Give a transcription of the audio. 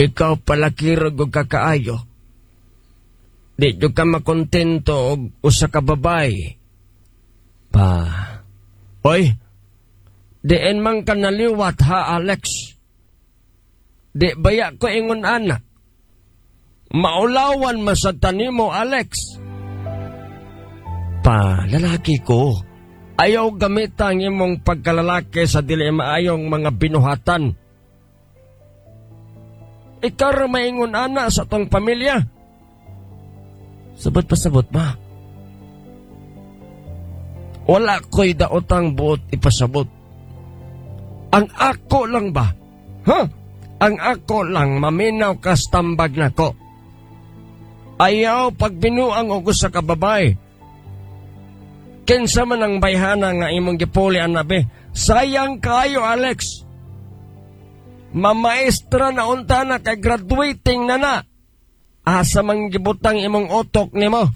Ikaw palakirog og kakaayo. Di jud ka makontento og usa ka babae. Pa. Oy, diin man ka naliwat ha, Alex? Di baya ko ingon ana? Maulawan man sad ta nimo, Alex. Pa, lalaki ko. Ayaw gamita ang imong pagkalalaki sa dili maayong mga binuhatan. Ikaw ra maingon ana sa tong pamilya. Sabot pasabot ba? Wala ko'y daotang buot ipasabot. Ang ako lang ba? Ha? Ang ako lang maminaw kas tambag nako. Ayaw pagbinuang og usa ka babae. Kinsa man ang bayhana nga imong gipuli ana be? Sayang kayo, Alex. Mamaestra na unta na kay graduating na na. Asa man gibutang imong utok nimo?